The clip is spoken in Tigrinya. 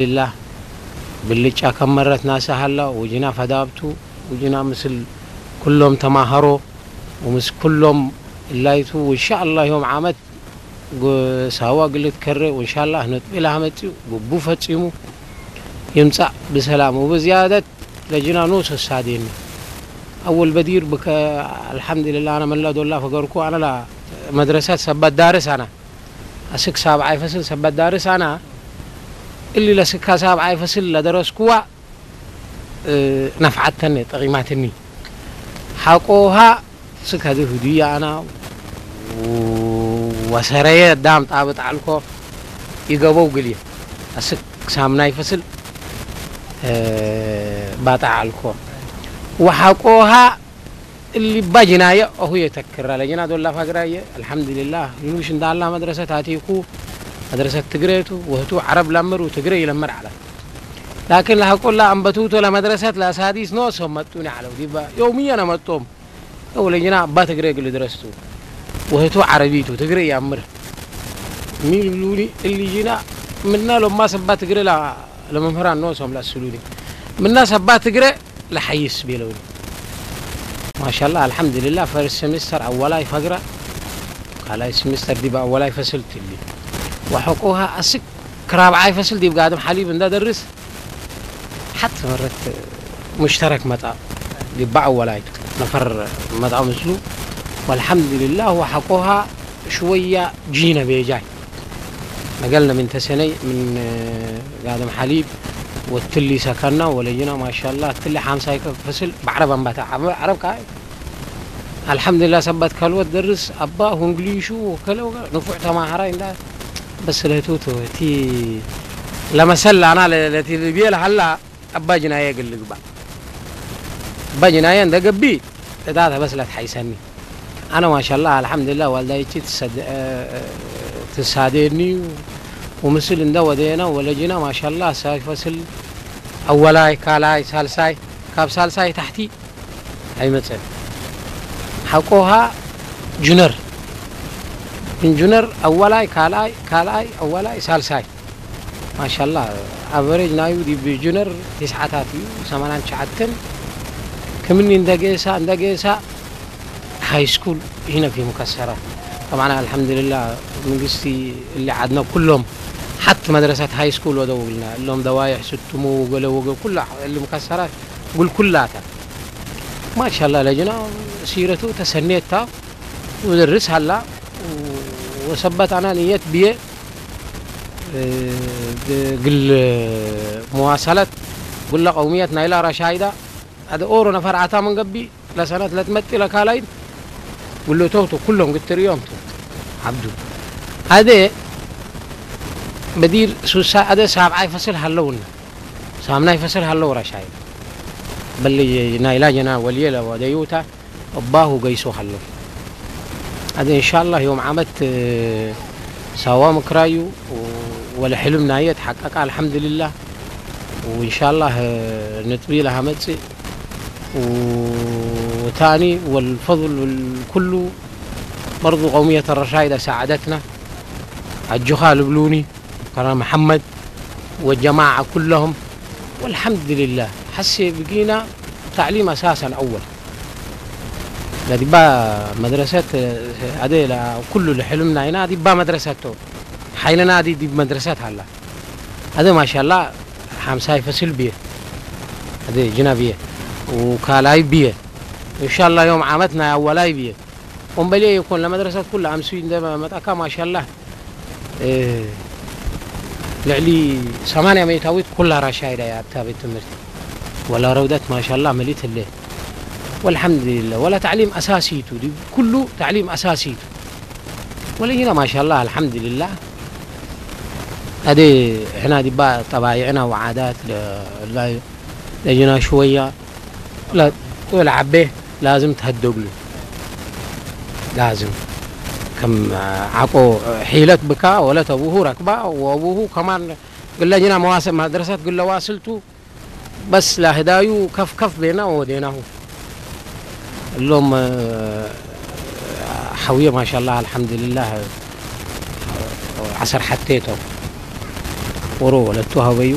ኣልሓምዱሊላህ። ብልጫ ከም መረት ናሳ ሃላ፣ ወጅና ፈዳብቱ፣ ወጅና ምስል ኩሎም ተማሃሮ፣ ወምስ ኩሎም እላይቱ፣ ወንሻኣላህ ዮም ዓመት ጎ-፣ ሳዋ ግልት ከረ፣ ወንሻላህ ነጥቢ ላህ መጺኡ፣ ግቡ ፈጺሙ ይምጻእ ብሰላም። ወብዝያደት ለጅና ኖስ ወሳዴኒ። ኣወል በዲር ብከ-፣ ኣልሓምዱሊላህ፣ ኣነ መላ ዶላ ፈገርኩ፣ ኣነ ላ መድረሰት ሰበት ዳርስ ኣና። ኣስክ ሳብዓይ ፈስል ሰበት ዳርስ ኣና። እሊ ለስካ ሳብዓይ ፈስል ለደረስኩዋ፣ እ፣ ነፍዓተኒ፣ ጠቂማትኒ። ሓቆሃ ስከ ድህዱያ ኣና ወሰረየ ዳም ጣብጥ ዓልኮ ይገበው ግልየ። ኣስክ ሳምናይ ፈስል፣ እ፣ ባጣ ዓልኮ። ወሓቆሃ እሊ ባጅናየ ኣሁ የተክራ ለጅና ዶላ ፋግራየ። ኣልሓምዱሊላህ። ዩኑሽ እንዳላ መድረሰት ኣቲኩ፣ መድረሰት ትግሬቱ፣ ወህቱ ዓረብ ለምር ወትግሬ ይለምር ዓላ። ላኪን ለሐቆላ ኣንበቱቶ ለመድረሰት ለሳዲስ ኖሶም መጡኒ ዓለው። ዲባ የውምየ ነመጦም። ወለጅና ኣባ ትግሬ ግል ድረስቱ። ወህቱ ዓረቢቱ፣ ትግሬ ያምር። ሚል ብሉኒ፣ እሊ ጅና ምና ሎማ ሰባ ትግሬ ላ-፣ ለመምህራን ኖሶም ለስሉኒ። ምና ሰባ ትግሬ ለሐይስ ቤለውኒ። ማሻላ፣ ኣልሓምዱሊላህ፣ ፈርስት ሴሚስተር ኣወላይ ፈግራ፣ ካልኣይ ሴሚስተር ዲብ ኣወላይ ፈስል ትሊ። ወሐቆሃ ኣስክ ክራብዓይ ፈስል ዲብ ጋድም ሓሊብ እንዳ ደርስ፣ ሓት መረት ሙሽተረክ መጣ፣ ዲባ ኣወላይቱ ነፈር መጣ ምስሉ። ወልሓምዱሊላህ፣ ወሐቆሃ ሽወያ ጂነ ቤጃይ። መገልነ ምን ተሰነይ ምን ጋድም ሓሊብ ወትሊ ሰከና ወለይና ማሻላ ትሊ ሓምሳይ ፈስል ባዕረብ ኣንባታ ዓረብ፣ ዓረብ ከኣ ኣልሓምዱሊላህ ሰባት ካልወት ደርስ ኣባ ሁንግሊሹ ወከለ ወገ ንፉዕ ተማሃራይ እንዳ በስ ለህትውቱ እቲ ለመሰል ኣና ለ-፣ ለቲ ልብየ ለሃላ ኣባ ጅናየ ግል ግባ። ኣባ ጅናየ እንደ ገቢ እታ ተበስለት ሓይሰኒ። ኣነ ማሻላ ኣልሓምዱሊላህ ዋልዳይቺ ትሰድ-፣ እ፣ ትሳደኒ ወምስል እንደ ወደየና ወለጅና ማሻላ ሳይ ፈስል ኣወላይ፣ ካልኣይ፣ ሳልሳይ፣ ካብ ሳልሳይ ታሕቲ ኣይመጸን። ሓቆሃ ጁነር፣ ምን ጁነር ኣወላይ፣ ካልኣይ፣ ካልኣይ፣ ኣወላይ፣ ሳልሳይ። ማሻላ፣ ኣቨሬጅ ናዩ ዲብ ጁነር ትስዓታት እዩ፣ ሰማንያን ትሽዓተን። ክምኒ እንደ ጌሳ፣ እንደ ጌሳ ሃይ ስኩል ይህነክ እዩ ሙከሰራት። ጠብዓን ኣልሓምዱሊላህ መንግስቲ እሊ ዓድና ኩሎም ሓት መድረሳት ሃይ ስኩል ወደውልና፣ እሎም ደዋይሕ ስትሙ ወገለ ወገ ኩላ እሊ ሙከሰራት ጉልኩላታ። ማሻላ ለጅና ሲረቱ ተሰኔታ ውድርስ ሃላ ወሰበት ኣና ንየት ብየ፣ እ፣ ግ-፣ ግል መዋሰለት ጉለ ቀውምየት ናይላ ረሻይዳ ኣደ ኦሮ ነፈር ኣታ መንገቢ ለሰነት ለትመጢ ለካላይን ጉልቶቱ ኩሎም ግትርእዮም ቱ ዓብዱ ኣደ በዲር ሱሳ ኣደ ሳብዓይ ፈስል ሃለውና ሳምናይ ፈስል ሃለው ረሻይ በሊ ናይላ ጀና ወልየ ለወደዩታ እባሁ ገይሶ ሃለው። ኣደ እንሻላህ ዮም ዓመት ሳዋ ምክራዩ ወለ ሕልም ናየ ተሓቀቃ ኣልሓምዱሊላህ። ወእንሻላህ ነጥቢ ለሃመጽእ ወታኒ ወልፈضል ኩሉ በርዱ ቀውምየት ረሻይዳ ሰዓደትና ኣጆኻ ልብሉኒ ከራ መሐመድ ወጀማዓ ኩለሁም ወልሐምድሊላህ። ሐሴ ብጊና ታዕሊም ኣሳሰን ኣወል ለዲባ መድረሰት ኣደ ኩሉ ልሕልምና ኢና ዲባ መድረሰት ቶ ሓይልና ዲ ዲብ መድረሰት ሃላ ኣደ ማሻላ ሓምሳይ ፈስል ብየ ኣደ ጅና ብየ ወካላይ ብየ እንሻላ ዮም ዓመት ናይ ኣወላይ ብየ። ወንበልየ ይኮን ለመድረሰት ኩላ ኣምስዩ እንደ መጣካ ማሻላ፣ እ፣ ልዕሊ ሰማንያ ሚእታዊት ኩላ ራሻይዳ እያ ኣብታ ቤት ትምህርቲ። ወላ ረውደት ማሻላ መሊት ህለ። ወልሓምዱሊላህ። ወላ ታዕሊም ኣሳሲቱ፣ ዲ-፣ ኩሉ ታዕሊም ኣሳሲቱ። ወለይና ማሻላ ኣልሓምዱሊላህ። ኣደ ሕና ዲባ ጠባይዕና ወዓዳት ለ-፣ ላ-፣ ለጅና ሽወያ لا، والعبه لازم تهدقله. لازم. كم عقو حيلة بكا ولا تبوه ركبة وأبوه كمان قال لنا مواصل مدرسة قال له واصلته بس لا هدايو كف كف بينا وديناه. اللهم، آه، حوية ما شاء الله الحمد لله، آه، عصر حتيته. ቁሩብ ለቱ ሃበዩ